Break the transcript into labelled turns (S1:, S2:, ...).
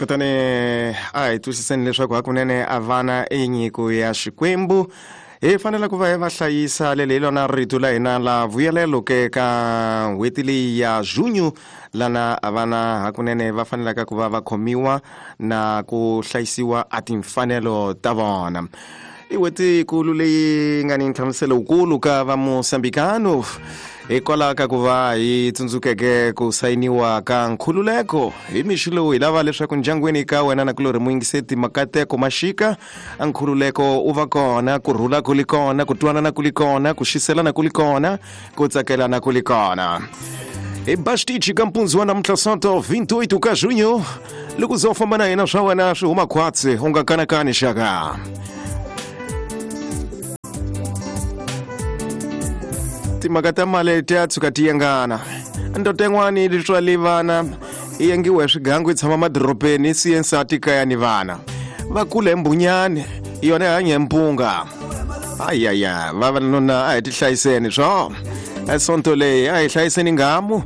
S1: Kutani a hi twisiseni leswaku hakunene a vana i nyiko ya Xikwembu, hi fanele ku va hi va hlayisa. Leli hi lona rito la hina la vuyelelo ke ka n'hweti leyi ya junho, lana vana hakunene va fanelaka ku va va khomiwa na ku hlayisiwa a timfanelo ta vona. I n'hweti kulu leyi nga ni nhlamuselo wukulu ka va Mosambikano, hikwalaho ka ku va hi tsundzukeke ku sayiniwa ka nkhululeko. Hi mixo lowu hi lava leswaku ndyangwini ka wena na kulorhi muyingiseti makateko maxika, a nkhululeko u va kona, ku rhula ku li kona, ku twanana ku li kona, ku xiselana ku li kona, ku tsakelana ku li kona. Hi ba xitichi ka mpundzu wa namuntlha, Sonto 28 ka junho. Loko ze u famba na hina, swa wena swi huma khwatsi, u nga kanakani xaka. Timhaka ta mali ti ya tshuka ti yengana. Ndoda yin'wani yi tswale vana, yi yengiwe hi swigangu, yi tshama madorobeni, yi siye nsati kaya ni vana. Va kula hi mbunyani, yona yi hanya hi mpunga. Ayaya, vavanuna, a hi tihlayiseni swo. Sonto leyi a hi hlayiseni ngamu.